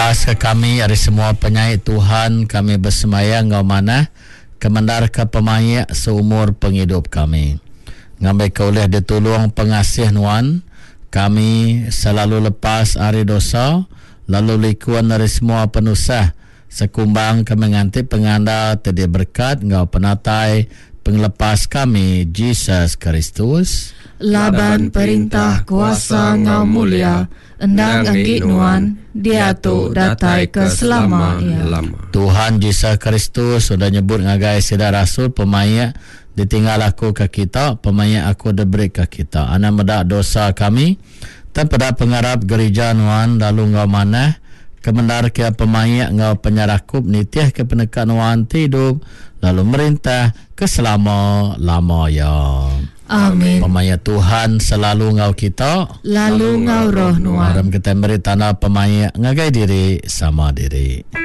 Lepaska kami ari semua penyai Tuhan, kami besemaya enggau manah kemendarka pemaik seumur pengidup kami. Ngambika ulih ditulung pengasih Nuan, kami selalu lepas ari dosa lalu likun ari semua penusah sekumbang kami nganti pengandal ti diberekat enggau penatai Pengelepas kami, Jesus Kristus. Laban perintah, kuasa enggau mulia endang enggi Nuan, diatu datai ke selama iya. Tuhan Jesus Kristus udah nyebut ngagai sida rasul pemaik ditinggal aku ke kita, pemaik aku diberi ke kita. Anang meda dosa kami, tang peda pengarap gerija nuan lalu enggau manah kemendarka iya pemaik enggau penyerakup nitihka peneka nuan ti idup lalu merintah ke selama-lama iya. Amin. Pemaik Tuhan selalu enggau kita. Lalu enggau roh nuan. Aram kitai meri tanda pemaik ngagai diri sama diri.